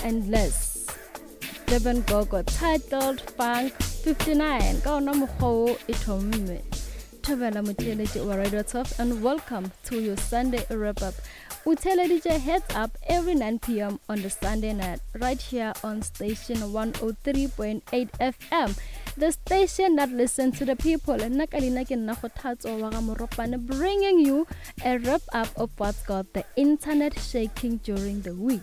And less. Durban Gogo titled Funk 59 ka ona mokgwa wo e thomme. Thobela motheeletši wa Radio 12 and welcome to your Sunday wrap up. O theeleditše Heads Up every 9 p.m. on the Sunday night right here on station 103.8 FM. The station that listens to the people. Nna ka leina ke nna Kgothatso wa ga Moropane bringing you a wrap up of what's got the internet shaking during the week.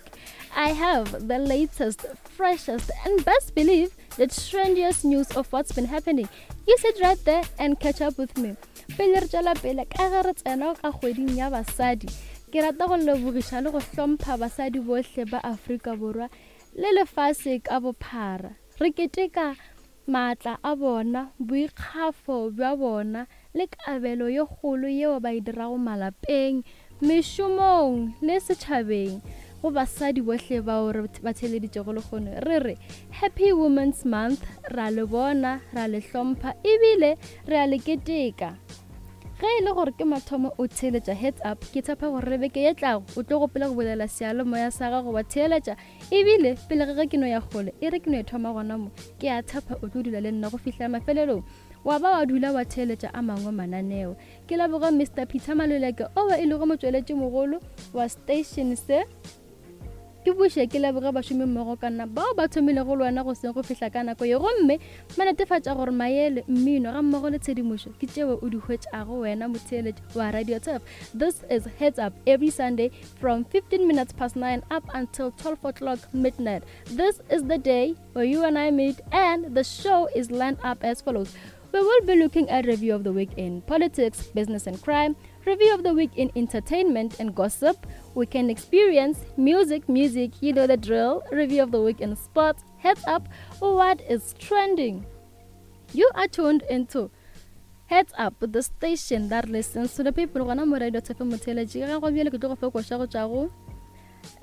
I have the latest, freshest, and best believe the trendiest news of what's been happening. You sit right there and catch up with me. Pele re tšwela pele ka ge re tsena ka kgweding ya basadi, ke rata go lebogiša le go hlompha basadi bohle ba Afrika Borwa le lefase ka bophara. Re keteka maatla a bona, boikgafo bja bona le kabelo ye kgolo yeo ba e dirago malapeng, mešomong le setšhabeng. Go basadi bohle bao re ba theeleditšego lehono, re re Happy Women's Month, ra le bona, ra le hlompha ebile re a le keteka. Ge e le gore ke mathomo o theeletša Heads Up, ke tshepa gore le beke ye tlago o tlo gopola go bulela seyalemoya sa gago wa theeletša Ebile pele ga ge ke no ya kgole, e re ke no e thoma gona mo, ke a tshepa o tlo dula le nna go fihla mafelelong, wa ba wa dula wa theeletša a mangwe mananeo. Ke leboga Mister Peter Maluleke owa e lego motšweletšimogolo wa station se. Ke buše ke leboge bašomimmogo ka nna bao ba thomilego le wena goseng go fihla ka nako ye gomme ba netefatša gore maele, mmino gammogo le tshedimošo ke tšeo o di hwetšago wena motheeletši wa Radio Turf. This is Heads Up every Sunday from 15 minutes past 9 up until 12 o'clock midnight. This is the day where you and I meet, and the show is lined up as follows. We will be looking at review of the week in politics, business and crime, review of the week in entertainment and gossip, weekend experience, music, music, you know the drill, review of the week in sports, heads up, what is trending. You are tuned into Heads Up, the station that listens to the people. Gona mo Radio Tshepe Motheeletši. Ga go bjale ke tlo go fa koša go tšwa go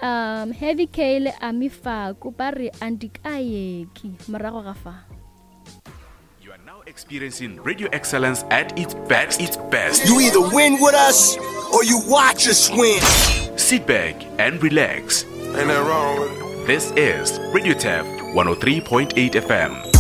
um Heavy K le Ami Faku ba re Andikayeki morago ga fa. You are now experiencing radio excellence at its best. Its best. You either win with us or you watch us win. Sit back and relax. Ain't that wrong with it? This is Radio Tap 103.8 FM.